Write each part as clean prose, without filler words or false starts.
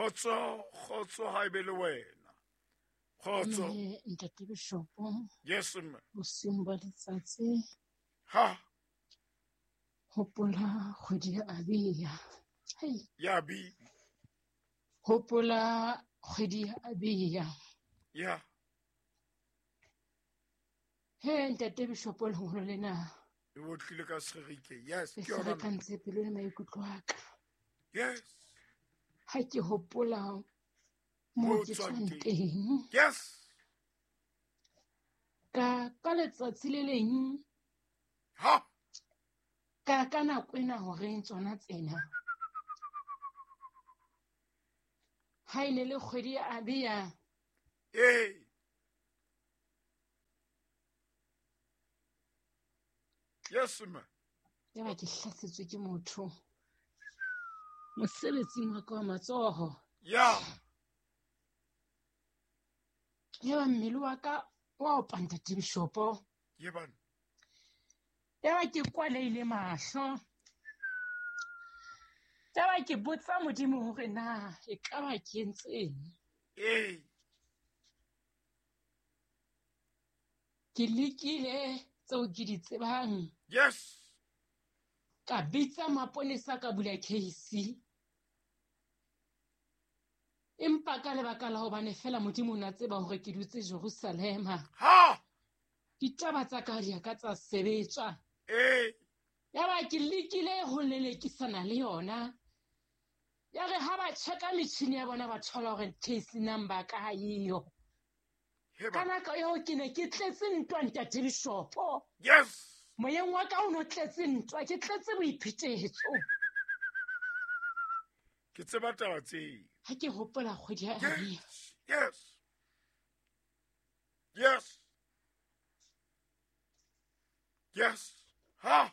Kgotso, kgotso ha ebe le wena. Kgotso. Mme ntate Bishopo, Yes, mme. bosiung ba letsatsi Ha, hopola kgwedi ya Abia. Hei, ya bi. hopola kgwedi ya Abia. Ya. He ntate Bishopo lengolo lena E otlile ka Segerike. Yes, le ke yona. mme. ferekantse pelo le maikutlo a ka. Yes. Ha ke hopola Mo moo ke tswang tswang teng. teng. Yes. Ka letsatsi le leng Ha. ka nako ena horeng tsona tsena. Ha e ne le kgwedi ya Abia. Ee. Yes, mme. Yaba ke hlasetswe ke motho mosebetsing wa ka wa matsoho. Ya. Yaba mmele wa ka wa opa ntate Bishopo. Ye bana. Yaba ke kwalehile mahlo. Yaba ke botsa Modimo hore na ekaba ke entseng. Ee. Ke lekile tseo ke di tsebang. Yes. Ka bitsa maponesa ka bula case. Empa ka lebaka la hobane fela Modimo o na tseba hore ke dutse Jerusalema. Ha. Ditaba tsa ka di a ka tsa sebetswa. Ee. Yaba ke lekile ho lelekisana le yona. Ya re ha ba check-a metjhini ya bona ba thola hore case number ka ha eyo. He Ka bana. nako eo ke ne ke tletse ntwa ntate Bishopo. Yes. Moyeng wa ka o no tletse ntwa, ke tletse boiphetetso. Ke tseba taba tseo. Ha ke hopola kgwedi ya Abia. Yes. Yes. Yes. Yes. Ha.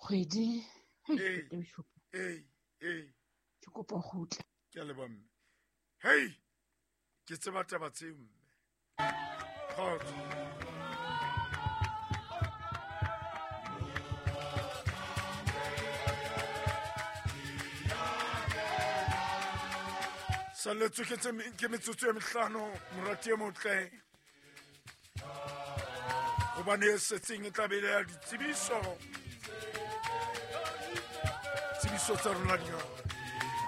Kgwedi. Hei, Ee. ntate Bishopo, Ee. Ee. ke kopa ho kgutla. Ke a leboha mme. Hei. Ke tseba taba tseo mme. Kgotso. Salletswe ke tse ke metsotso e mehlano morati e motle. Hobane e setseng e tla be e le ya ditsebiso. Tsebiso tsa rona di ngata.